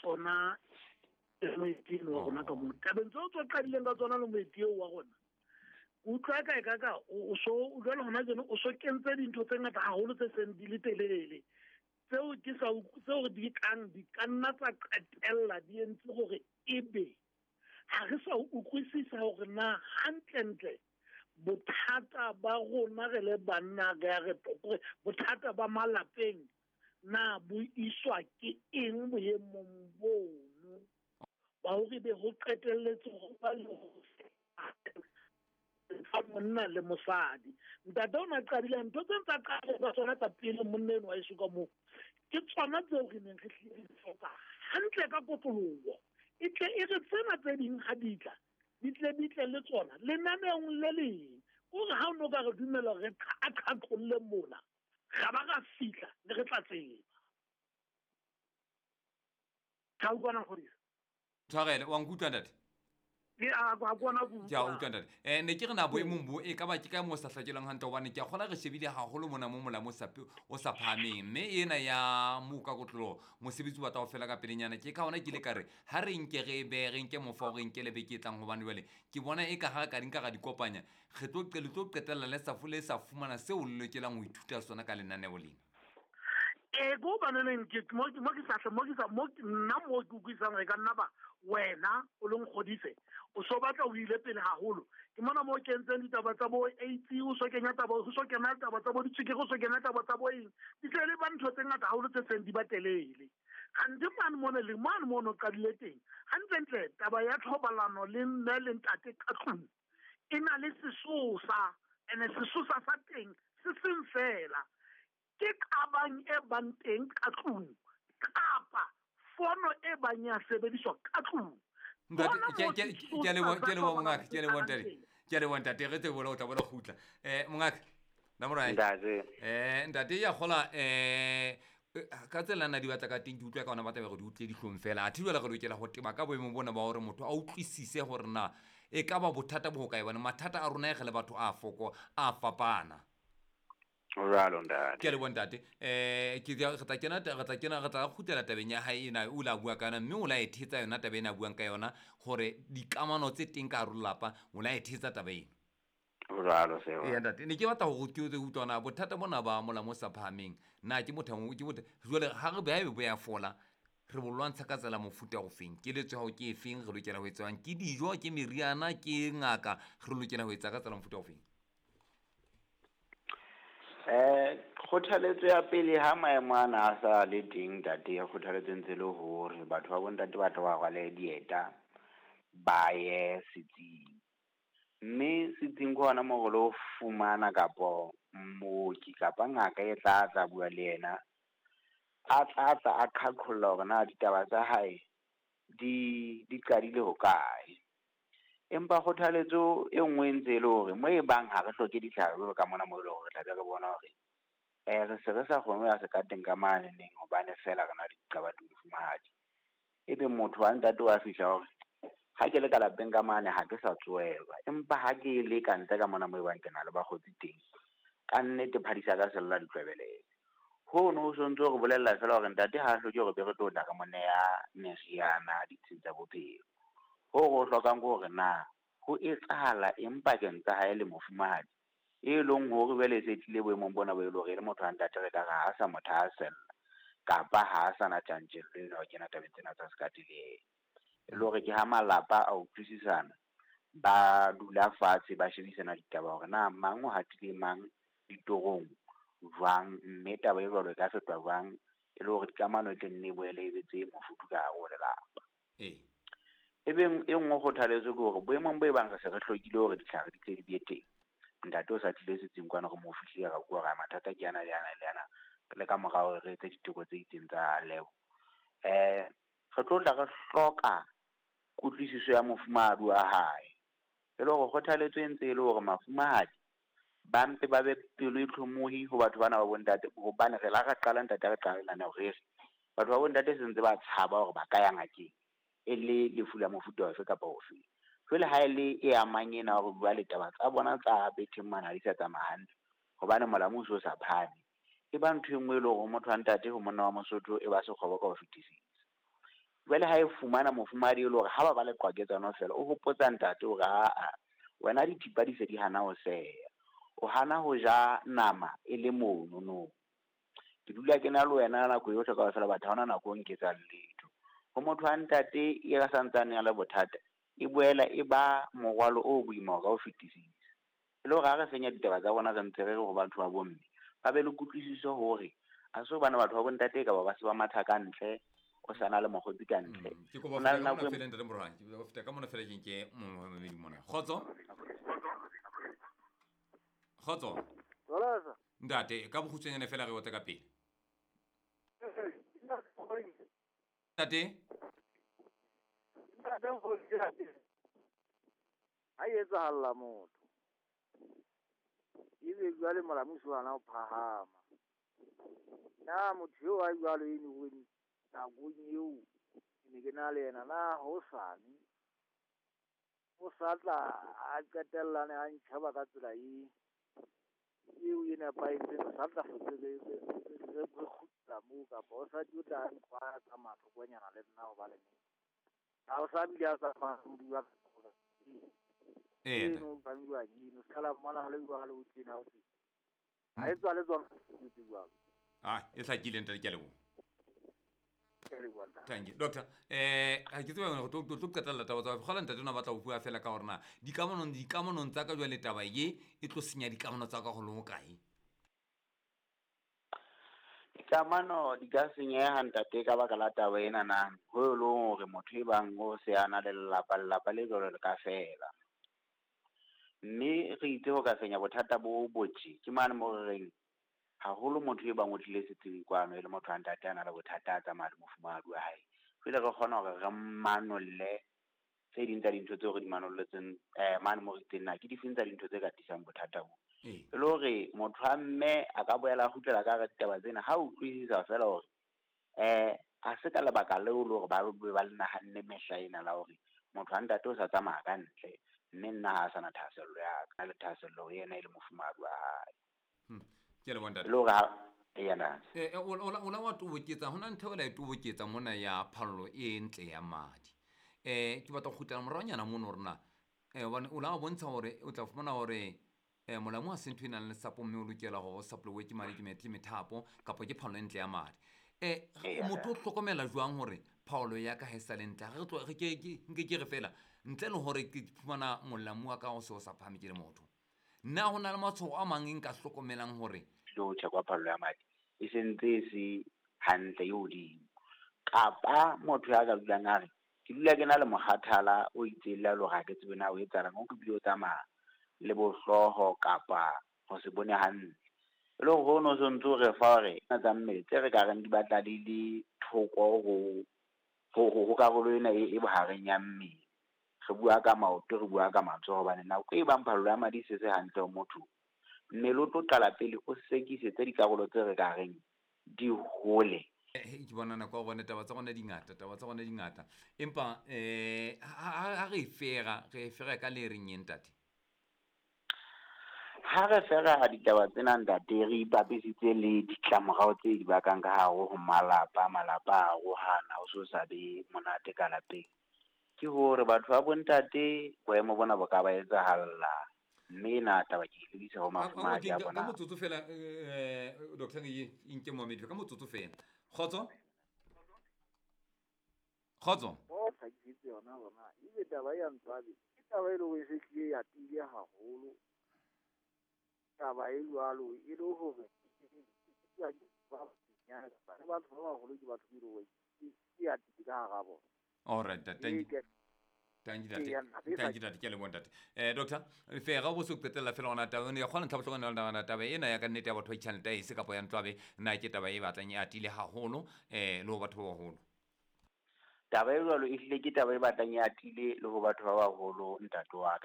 tsona le moeti eno wa rona ka moo. Tabeng tseo tse o qadileng ka tsona le moeti eo wa rona, ke utlwa ka e ka ka o so o jwale hona jeno o so kentse dintho tse ngata haholo tse seng di le telele tseo ke sa tseo di tlang di ka nna tsa qetella di entse hore ebe ha re sa utlwisisa hore na hantlentle bothata ba rona re le banna re ya re bothata ba malapeng na bo iswa ke eng boemong bono ba hore be ho qetelletse ho ba le fa monna le mosadi. Ntate o ne a qadile ntho tse ntse a qadile ka tsona tsa pele monna eno wa eso ka moo, ke tsona tseo re neng re hlile re di hloka hantle ka kotloloho. E tle e re tsena tse ding ha di tla, di tle di tle le tsona lenaneong le leng. Ke hore ha o no ka re dumela hore re a qhaqholle mona, ra ba ra fihla ne re tla tseba. Ka utlwana Nkgodisa? Tshwarele, wa nkutlwa ntate? Ke a a kona go Ke a utlwa ntate. Ne ke re na boemong bo e ka ba ke kae mo sa hlakelwang hantle hobane ke a kgola re shebile haholo mona mo molamu o sa phahameng mme ena ya mo ka kotloloho mosebetsi o batla ho fela ka pelenyana. Ke ka hona ke ile ka re ha re nke re be re nke mofa o re nke le beke e tlang hobane jwale ke bona e ka ha re ka di nka ra di kopanya re tlo le tlo qetella le sa le sa fumana seo le lokelang ho ithuta sona ka lenaneo lena. Ee, ke hobaneneng ke mo mo ke sa mo ke sa mo nna mo ke utlwisisang hore e ka nna ba wena o le nkgodise o so batla o ile pele haholo. Ke mona mo kentseng ditaba tsa bo AIDS, o so kenya taba, o so kena taba tsa bo ditswekere, o so kena taba tsa bo eng. Di se le ba ntho tse ngata haholo tse seng di ba telele. Kgante mane mona le mane mono qadile teng. Hantlentle taba ya thobalano le mme le ntate ka tlung e na le sesosa, ene sesosa sa teng se seng fela. Ke qabang e bang teng ka tlung kapa fono e bang ya sebediswa ka tlung. Ntate, ke a leboha, ke a leboha mongaka, ke a leboha ntate. Ke a leboha ntate, re tsebe o tla bona kgutla. Mongaka, Namorae. Ntate. Ntate ya kgola ka tsela nna di batla ka teng ke utlwa ka ona batla gore di utlwe dihlong fela. Athe jwale re lokela ho teba ka boemong bona ba hore motho a utlwisise hore na e ka ba bothata bo hokae bane mathata a rona e re le batho a foko a fapana. Ho jwalo ntate. Ke a leboha ntate. Ke re tla kena re tla kena re tla kgutlela tabeng ya hae ena o la bua ka yona mme o la e thetsa yona taba ena a buang ka yona hore dikamano tse teng ka hare ho lelapa o la e thetsa taba ena. Ho jwalo seo. Eya ntate, ne ke batla hore ke utlwe na bothata bona ba molamu o sa phahameng na ke botha ke botha jwale ha re ba bo ya fola re bo lwantsha ka tsela mofuta o feng? Keletso ya hao ke efeng? Re lokela ho etsang? Ke dijo, ke meriana, ke ngaka? Re lokela ho etsa ka tsela mofuta o feng? Kgothaletso ya pele ha maemo ana a sa le teng ntate, kgothaletso ntse le hore batho ba bontate ba tla ba rwale dieta ba ye setsing. Mme setsing ke hona moo re lo fumana kapo mooki kapa ngaka e tla tla bua le yena, a tla tla a qhaqholla hore na ditaba tsa hae di di qadile hokae. Empa kgothaletso e nngwe e ntse e le hore mo e bang ha re hloke ditlhare jwalo ka mona moo e leng hore re tla be re bona hore re se re sa kgone ho ya sekateng ka mane neng hobane feela re na le diqabang le mofumahadi. Ebe motho wa ntate wa fihla hore ha ke le ka lapeng ka mane ha ke sa tsohelwa, empa ha ke le ka ntle ka mona moo e bang ke na le bakgotsi teng, ka nnete phadisa ka sella ditlwebelele. Hono ho sontso re bolella feela hore ntate ha a hloke hore be re tlo tla re mo neha meriana ditsheng tsa bophelo. Ho re o hlokang ke hore na ho etsahala eng pakeng tsa hae le mofumahadi e leng hore jwale e se tlile boemong bona bo e leng hore e le motho wa ntate re ka re ha sa mo thahasella kapa ha sa na tjantjello ena ho kena tabeng tsena tsa sekate le yena. E le hore ke ha malapa a utlwisisana, ba dula fatshe ba shebisana ditaba hore na mang o hatile mang ditorong jwang, mme taba e jwalo e ka fetwa jwang e le hore dikamano e tle nne e boele e be tse mofuthu ka hare ho lelapa. Ebe e nngwe kgothaletso ke hore boemong bo e bang re se re hlokile hore ditlhare di tle di be teng, ntate o sa tlile setsing kwana re mo fihlile ra bua hore mathata ke ana le ana le ana le ka mora hore re etse diteko tse itseng tsa lebo. Re tlo tla re hloka kutlwisiso ya mofumahadi wa hae. E le hore kgothaletso e ntse e le hore mafumahadi ba mpe ba be pelo e tlhomohi ho batho bana ba bontate, hobane re la ra qala ntate re qala lenaneo re re batho ba bontate se ntse ba tshaba hore ba ka ya ngakeng e le lefu la mofuta ofe kapa ofe. Jwale ha e le e amang ena hore jwale taba tsa bona tsa betheng mane ha di sa tsamaya hantle hobane molamu o so sa phahame, e ba ntho e nngwe e leng hore motho wa ntate ho monna wa Mosotho e ba sekgobo ka ho fetisisa. Jwale ha e fumana mofumahadi e le hore ha ba ba le qwaketsano fela, o hopotsa ntate hore aa wena dithipa di se di hana ho seya, o hana ho ja nama e le mono no. Ke dula ke na le wena nako yohle kaofela, batho ha hona nako o nketsang letho. Ho motho wa ntate e santsane a le bothata, e boela e ba morwalo o boima ka ho fetisisa. E le hore ha re fenya ditaba tsa rona re ntse re re ho batho ba bomme, ba be le kutlwisiso hore ha se hobane batho ba bontate ka ba ba se ba matha ka ntle, o sa na le mokgotsi ka ntle. Ke kopa Ho na feta le ka nako mona e fela ntate Moroang, ke kopa feta ka mona fela ke nke momamedi mona. Kgotso? Kgotso? Jwalesa. Ntate, ka bokgutshwanyane fela re otle ka pele. Ntate? Ha e etsahalla motho, ebe jwale molamusi wa hana ho phahama. Na motho eo a jwalo eno hore nakong eo ke ne ke na le yena, na hosane o sa tla a qetellane a ntjheba ka tsela e eo e nepahetseng, o sa tla hlotse re kgutla moo, kapa o sa tlo tla nkwaya ka mathokonyana le nna hobane ha o sa bile a sa bua Ee, eno ba bua eno sala mona le jwalo o tjena o tjena. Ha e tswa le tsona tse jwalo. Ah, e hlakile ntate, ke a leboha. Ke a leboha ntate. Thank you. Doctor, ha ke tsebe hore tlo qetella taba tsa kgola ntate ona batla ho bua fela ka hore na dikamanong tsa ka jwale taba ye e tlo senya dikamano tsa ka ho le hokae? Dikamano di ka senyeha ntate ka baka la taba ena na, ho e leng hore motho e bang o se a na le lelapa, lelapa le jwalo le ka fela. Mme re itse ho ka fenya bothata bo botje, ke mane mo re reng haholo motho e bang o tlile setsing kwano e le motho wa ntate a na le bothata a tsamaya le mofumahadi wa hae. Jwale re kgona hore re manolle tse ding tsa dintho tseo re di manolletseng, mane mo re itseng na ke difeng tsa dintho tse ka tlisang bothata bo. E le hore motho wa mme a ka boela a kgutlela ka hara ditaba tsena ha utlwisisa fela hore ha se ka lebaka leo le hore ba be ba le nahanne mehla ena la hore motho wa ntate o sa tsamaya ka ntle, mme nna ha a sana thahasello ya ka, le thahasello ho yena e le mofumahadi wa hae. Ke a leboha ntate. E le hore ha eya ntate. O la wa toboketsa, hona ntho e la e toboketsa mona ya phallo e ntle ya madi. Ke batla ho kgutlela moraonyana mono hore na, hobane o la bontsha hore o tla fumana hore molamu ha se ntho e nang le sapo mme o lokela hore o sapolowe ke madi, ke methapo kapa ke phallo e ntle ya madi. Motho o hlokomela jwang hore phaolo ya ka ha e sa le ntle? Ha re tlo, re ke, ke, nke ke re fela ntle le hore ke fumana molamu wa ka o se o sa phahame ke le motho. Na ho na le matshwao a mang e nka hlokomelang hore le ho tjhekwa phallo ya madi e sentse e se hantle e hodimo, kapa motho ya ka dulang a re ke dula ke na le mokgathala o itseng le hore ha ke tsebe na o etsahalang, o ke bile o tsamaya le bohlooho kapa ho se bone hantle. E le hore hono o sontso o re fa hore tsa mmele tse re ka reng di batla di le thoko ho karolo ena e bohareng ya mmele. Re bua ka maoto, re bua ka matsoho, hobane nako e bang phallo ya madi e se se hantle ho motho, mmele o tlo qala pele o sekisetse dikarolo tse re ka reng di hole. Ke bona nako ya rona, taba tsa rona di ngata, taba tsa rona di ngata. Empa ha re e fera, re e fera ka le reng eng, ntate? Ha re fera ditaba tsena ntate, re ipapisitse le ditlamorao tse di bakang ka hare ho malapa, malapa a arohana, ho so sa be monate ka lapeng. Ke hore batho ba bontate boemo bona bo ka ba etsahalla, mme ena taba ke e lebisa ho mafumahadi a Ka bona. motsotso fela, Doctor Ngeye, nke momedi, ka motsotso fela. Kgotso? Kgotso? O hlakisitse yona hore na ebe taba ya ntswabe ke taba e leng hore e se hlile ya tiile haholo. Taba e jwalo e le hore ba batho ba baholo ke batho be leng hore ke ya tiile ka hara bona. All right, thank you. Thank you, ntate. Ee, ntate. Thank you, ntate. Ke a leboha, ntate. Doctor, fera bo se qetella fela hona taba ena ya kgona ntlha bohlokwa yona taba ena ya ka nnete ya batho ba itjhang letaese kapa ya ntlwabe, na ke taba e batlang e atile haholo, le ho batho ba baholo. Taba e jwalo ehlile ke taba e batlang e atile le ho batho ba baholo, ntate wa ka.